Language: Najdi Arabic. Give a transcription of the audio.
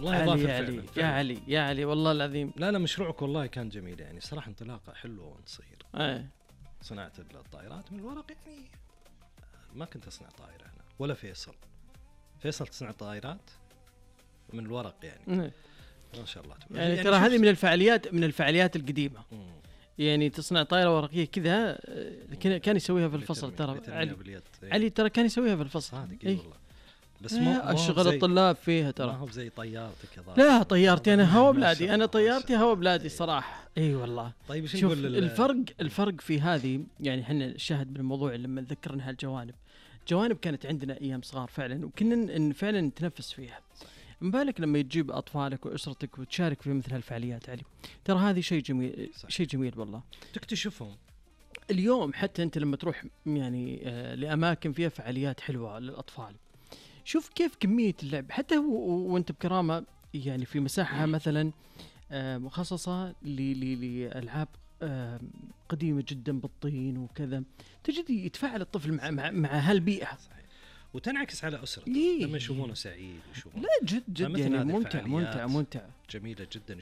والله علي يا علي يا علي والله العظيم. لا مشروعك والله كان جميل يعني صراحة، انطلاقة حلوة ونصير. صناعة الطائرات من الورق يعني ما كنت أصنع طائرة أنا ولا فيصل تصنع طائرات من الورق يعني. ما شاء الله يعني ترى هذه من الفعاليات القديمة. يعني تصنع طائرة ورقية كذا كان يسويها في الفصل ترى علي ترى كان يسويها في الفصل صادق والله. بس أشغل الطلاب فيها ترى. ما هو زي طيارتك يا ضار. لا طيارتي أنا هوا بلادي، أنا طيارتي هوا بلادي صراحة. أي والله. طيب شوف الفرق في هذه يعني إحنا الشاهد بالموضوع لما ذكرنا هالجوانب كانت عندنا أيام صغار فعلا، وكنا فعلا نتنفس فيها. مبالك لما يجيب أطفالك وأسرتك وتشارك في مثل هالفعاليات علي. ترى هذه شيء جميل صحيح. شيء جميل والله تكتشفهم اليوم. حتى أنت لما تروح يعني لأماكن فيها فعاليات حلوة للأطفال، شوف كيف كمية اللعب. حتى وأنت بكرامة يعني في مساحة مثلا مخصصة لألعاب قديمة جدا بالطين وكذا، تجد يتفاعل الطفل مع هالبيئة صحيح. وتنعكس على أسرته لما يشوفونه سعيد. لا جد يعني ممتع جميلة جدا.